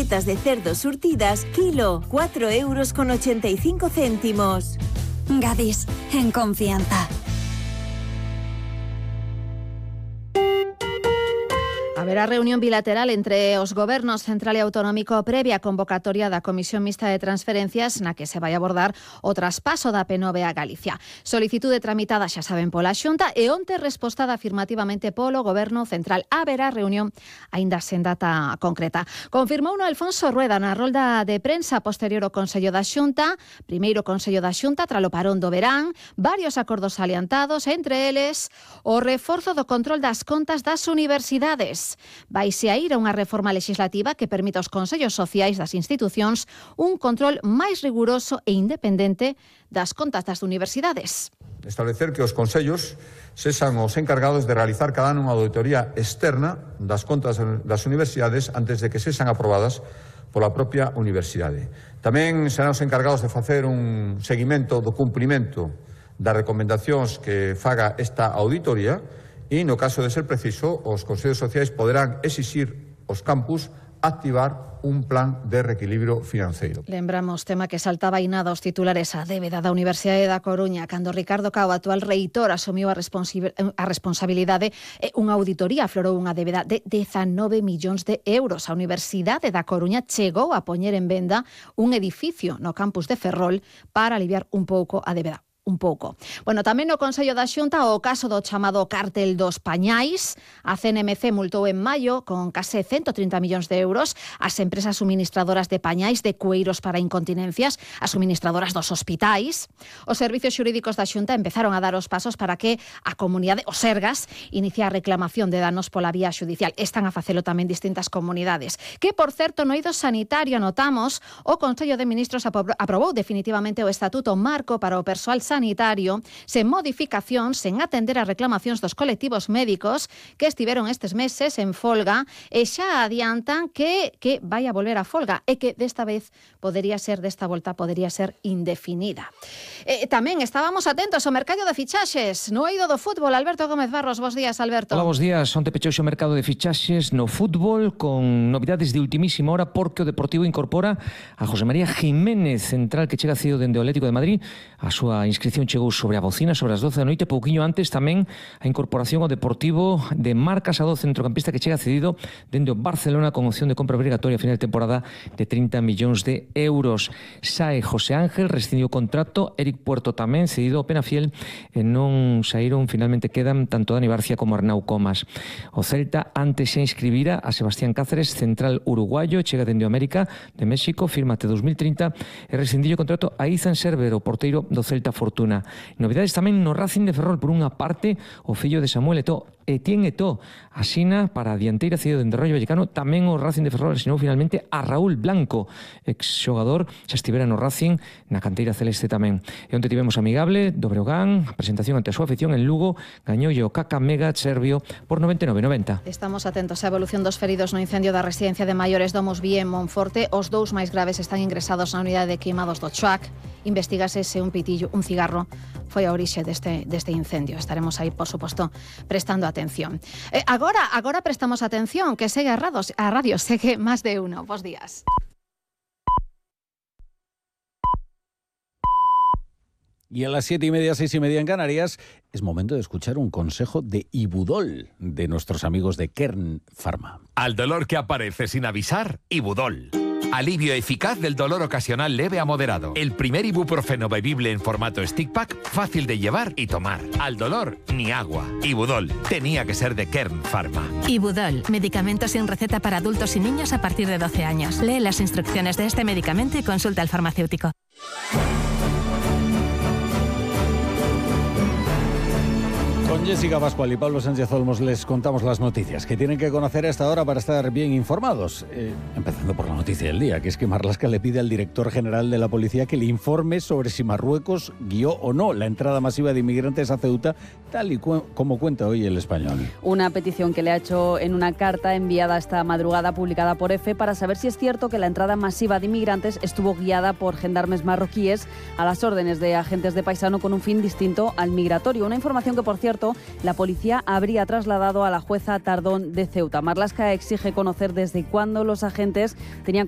chuletas de cerdo surtidas, kilo, 4,85 €. Gadis, en confianza. Haberá reunión bilateral entre os gobernos central e autonómico previa convocatoria da Comisión Mixta de Transferencias na que se vai abordar o traspaso da P9 a Galicia. Solicitude tramitada, xa saben, pola Xunta e onte respostada afirmativamente polo Goberno Central. Haberá reunión aínda sen data concreta. Confirmouno Alfonso Rueda na rolda de prensa posterior ao Consello da Xunta, primeiro Consello da Xunta tralo parón do verán, varios acordos aliantados, entre eles o reforzo do control das contas das universidades. Vaise a ir a unha reforma legislativa que permita aos consellos sociais das institucións un control máis riguroso e independente das contas das universidades. Establecer que os consellos sexan os encargados de realizar cada ano unha auditoría externa das contas das universidades antes de que sexan aprobadas pola propia universidade. Tamén serán os encargados de facer un seguimento do cumprimento das recomendacións que faga esta auditoría e, no caso de ser preciso, os consellos sociais poderán exixir aos campus activar un plan de reequilibrio financeiro. Lembramos tema que saltaba nada aos titulares a débeda da Universidade da Coruña cando Ricardo Cao, actual reitor, asumiu a responsabilidade e unha auditoría aflorou unha débeda de 19 millóns de euros. A Universidade da Coruña chegou a poñer en venda un edificio no campus de Ferrol para aliviar un pouco a débeda. Bueno, tamén no Consello da Xunta o caso do chamado cártel dos pañais. A CNMC multou en maio con case 130 millóns de euros as empresas suministradoras de pañais de cueiros para incontinencias, as suministradoras dos hospitais. Os servicios xurídicos da Xunta empezaron a dar os pasos para que a comunidade, os Sergas, inicie a reclamación de danos pola vía xudicial. Están a facelo tamén distintas comunidades. Que, por certo, no eido sanitario notamos o Consello de Ministros aprobou definitivamente o Estatuto Marco para o persoal sanitario sen modificacións, sen atender as reclamacións dos colectivos médicos que estiveron estes meses en folga e xa adiantan que vai a volver a folga e que desta volta podería ser indefinida. Tamén estábamos atentos ao mercado de fichaxes no eido do fútbol. Alberto Gómez Barros, bos días, Alberto. Hola, bos días. Onte pechouse o mercado de fichaxes no fútbol con novidades de ultimísima hora porque o Deportivo incorpora a José María Jiménez, central que chega cedido dende o Atlético de Madrid. A súa inscripción chegou sobre a bocina, sobre as 12 da noite. Pouquiño antes tamén a incorporación ao Deportivo de Marc Casado, centrocampista que chega cedido dende o Barcelona con opción de compra obrigatoria a final de temporada de 30 millóns de euros. Sae José Ángel, rescindiu o contrato. Eric Puerto tamén cedido ao Penafiel e non saíron, finalmente quedan tanto Dani Barcia como Arnau Comas. O Celta antes xa inscribira a Sebastián Cáceres, central uruguayo, chega dende o América de México, firma até 2030 e rescindiu o contrato a Izan Server, o porteiro do Celta Fortuna. Novidades tamén no Racing de Ferrol. Por unha parte, o fillo de Samuel Eto'o, Etienne Eto'o, asina para a dianteira cedido dende Rayo Vallecano. Tamén o Racing de Ferrol asinou finalmente a Raúl Blanco, exxogador, xa estivera no Racing, na canteira celeste tamén. E onte tivemos amigable do Breogán, a presentación ante a súa afición en Lugo, gañoulle o Kakamega serbio por 99-90. Estamos atentos á evolución dos feridos no incendio da residencia de maiores Domus Vie en Monforte. Os dous máis graves están ingresados na unidade de queimados do Chuac. Investígase se un pitillo, un cigarro, foi a orixe deste incendio. Estaremos aí, por suposto, prestando atención. Agora prestamos atención, que segue a radio, segue Más de Uno. Bos días. Y a las 7:30, 6:30 en Canarias, es momento de escuchar un consejo de Ibudol, de nuestros amigos de Kern Pharma. Al dolor que aparece sin avisar, Ibudol. Alivio eficaz del dolor ocasional leve a moderado. El primer ibuprofeno bebible en formato stick pack, fácil de llevar y tomar. Al dolor, ni agua. Ibudol. Tenía que ser de Kern Pharma. Ibudol. Medicamento sin receta para adultos y niños a partir de 12 años. Lee las instrucciones de este medicamento y consulta al farmacéutico. Con Jessica Pascual y Pablo Sánchez Olmos les contamos las noticias que tienen que conocer a esta hora para estar bien informados. Empezando por la noticia del día, que es que Marlaska le pide al director general de la policía que le informe sobre si Marruecos guió o no la entrada masiva de inmigrantes a Ceuta, tal y como cuenta hoy El Español. Una petición que le ha hecho en una carta enviada esta madrugada, publicada por EFE, para saber si es cierto que la entrada masiva de inmigrantes estuvo guiada por gendarmes marroquíes a las órdenes de agentes de paisano con un fin distinto al migratorio. Una información que, por cierto, la policía habría trasladado a la jueza Tardón de Ceuta. Marlaska exige conocer desde cuándo los agentes tenían conocimiento